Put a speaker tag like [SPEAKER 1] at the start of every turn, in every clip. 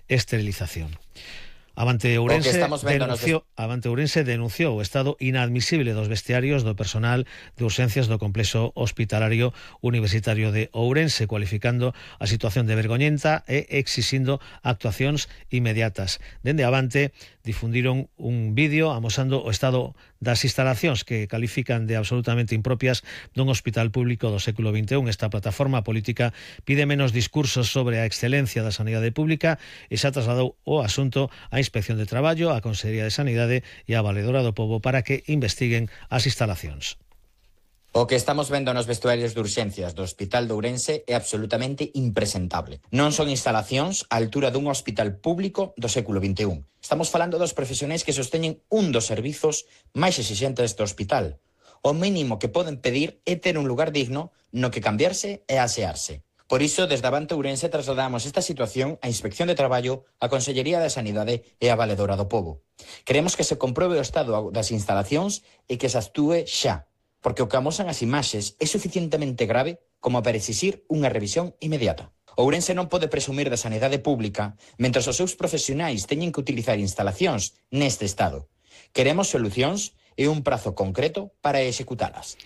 [SPEAKER 1] esterilización. Avante Ourense denunciou o estado inadmisible dos vestiarios do personal de urxencias do complexo hospitalario universitario de Ourense, cualificando a situación de vergoñenta e exixindo actuacións inmediatas. Dende Avante difundiron un vídeo amosando o estado das instalacións que califican de absolutamente impropias dun hospital público do século XXI. Esta plataforma política pide menos discursos sobre a excelencia da sanidade pública e xa trasladou o asunto á Inspección de Traballo, á Consellería de Sanidade e á Valedora do Pobo para que investiguen as instalacións.
[SPEAKER 2] O que estamos vendo nos vestuarios de urxencias do Hospital de Ourense é absolutamente impresentable. Non son instalacións á altura dun hospital público do século XXI. Estamos falando dos profesionais que sosteñen un dos servizos máis exixentes do hospital. O mínimo que poden pedir é ter un lugar digno no que cambiarse e asearse. Por iso, desde Avante Ourense trasladamos esta situación á Inspección de Traballo, á Consellería de Sanidade e á Valedora do Pobo. Queremos que se compruebe o estado das instalacións e que se actúe xa, porque o que amosan as imaxes é suficientemente grave como para exixir unha revisión inmediata. Ourense non pode presumir da sanidade pública mentre os seus profesionais teñen que utilizar instalacións neste estado. Queremos solucións e un prazo concreto para executalas.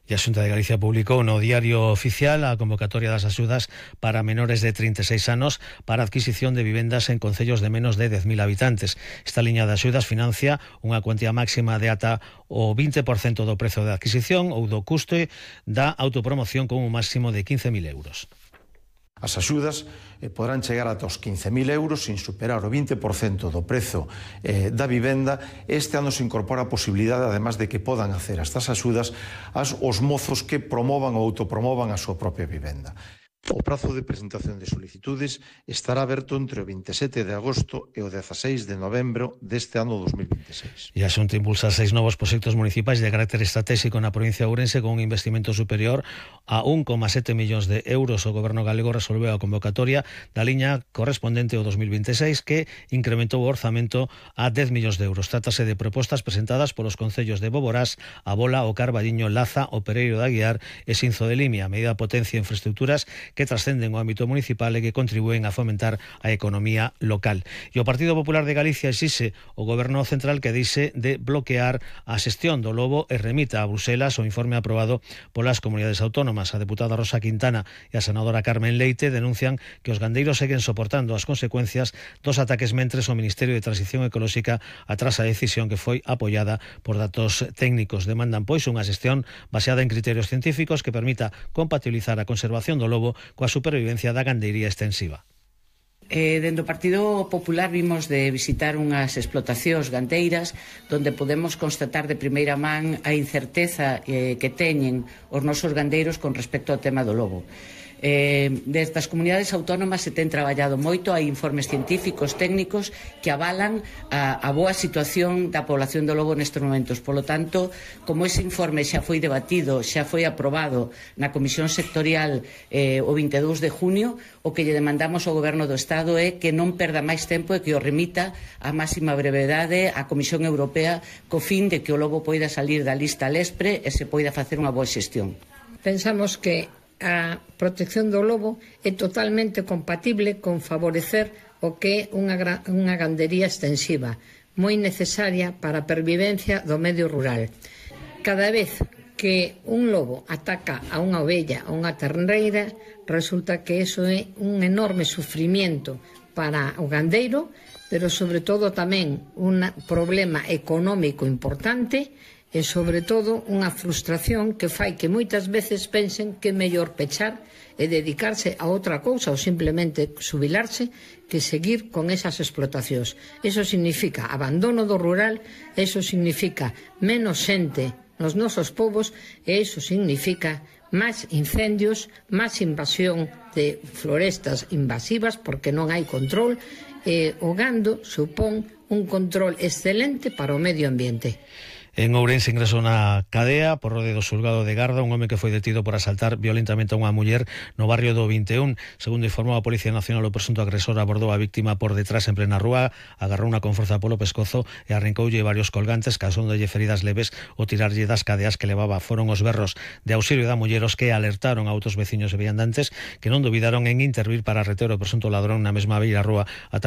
[SPEAKER 1] E a Xunta de Galicia publicou no Diario Oficial a convocatoria das axudas para menores de 36 anos para a adquisición de vivendas en concellos de menos de 10.000 habitantes. Esta liña de axudas financia unha cuantía máxima de ata o 20% do prezo de adquisición ou do custe da autopromoción con un máximo de 15.000 euros.
[SPEAKER 3] As axudas poderán chegar ata os 15.000 euros sin superar o 20% do prezo da vivenda. Este ano se incorpora a posibilidade, además de que podan hacer estas axudas, os mozos que promovan ou autopromovan a súa propia vivenda. O prazo de presentación de solicitudes estará aberto entre o 27 de agosto e o 16 de novembro deste ano 2026.
[SPEAKER 1] E a Xunta impulsa 6 novos proxectos municipais de carácter estratégico na provincia de Ourense con un investimento superior a 1,7 millóns de euros. O Goberno galego resolveu a convocatoria da liña correspondente ao 2026 que incrementou o orzamento a 10 millóns de euros. Trátase de propostas presentadas polos concellos de Boborás, A Bola, O Carballiño, Laza, O Pereiro de Aguiar e Sinzo de Limia. A medida potencia infraestructuras que trascenden o ámbito municipal e que contribúen a fomentar a economía local. E o Partido Popular de Galicia exixe o Goberno Central que dixe de bloquear a xestión do lobo e remita a Bruselas o informe aprobado polas comunidades autónomas. A deputada Rosa Quintana e a senadora Carmen Leite denuncian que os gandeiros seguen soportando as consecuencias dos ataques mentres o Ministerio de Transición Ecolóxica atrasa a decisión que foi apoiada por datos técnicos. Demandan, pois, unha xestión baseada en criterios científicos que permita compatibilizar a conservación do lobo coa supervivencia da gandeiría extensiva.
[SPEAKER 4] Dentro do Partido Popular vimos de visitar unhas explotacións gandeiras donde podemos constatar de primeira man a incerteza que teñen os nosos gandeiros con respecto ao tema do lobo. Desde as comunidades autónomas se ten traballado moito, hai informes científicos, técnicos que avalan a boa situación da población do lobo nestes momentos. Polo tanto, como ese informe xa foi debatido, xa foi aprobado na Comisión Sectorial o 22 de junio, o que lle demandamos ao Goberno do Estado é que non perda máis tempo e que o remita a máxima brevedade á Comisión Europea co fin de que o lobo poida salir da lista LESPRE e se poida facer unha boa xestión.
[SPEAKER 5] Pensamos que a protección do lobo é totalmente compatible con favorecer o que é unha gandería extensiva, moi necesaria para a pervivencia do medio rural. Cada vez que un lobo ataca a unha ovella ou unha terneira, resulta que eso é un enorme sufrimiento para o gandeiro, pero sobre todo tamén un problema económico importante e sobre todo unha frustración que fai que moitas veces pensen que é mellor pechar e dedicarse a outra cousa ou simplemente xubilarse que seguir con esas explotacións. Eso significa abandono do rural, eso significa menos xente nos nosos povos e eso significa máis incendios, máis invasión de florestas invasivas porque non hai control e o gando supón un control excelente para o medio ambiente.
[SPEAKER 1] En Ourense ingresou na cadea por orde do xulgado de Garda un home que foi detido por asaltar violentamente a unha muller no barrio do 21. Segundo informou a Policía Nacional, o presunto agresor abordou a víctima por detrás en plena rúa, agarrouna con forza polo pescozo e arrancoulle varios colgantes, causándolle feridas leves o tirarlle das cadeas que levaba. Foron os berros de auxilio da muller os que alertaron a outros veciños e viandantes que non dubidaron en intervir para reter o presunto ladrón na mesma beira rúa ata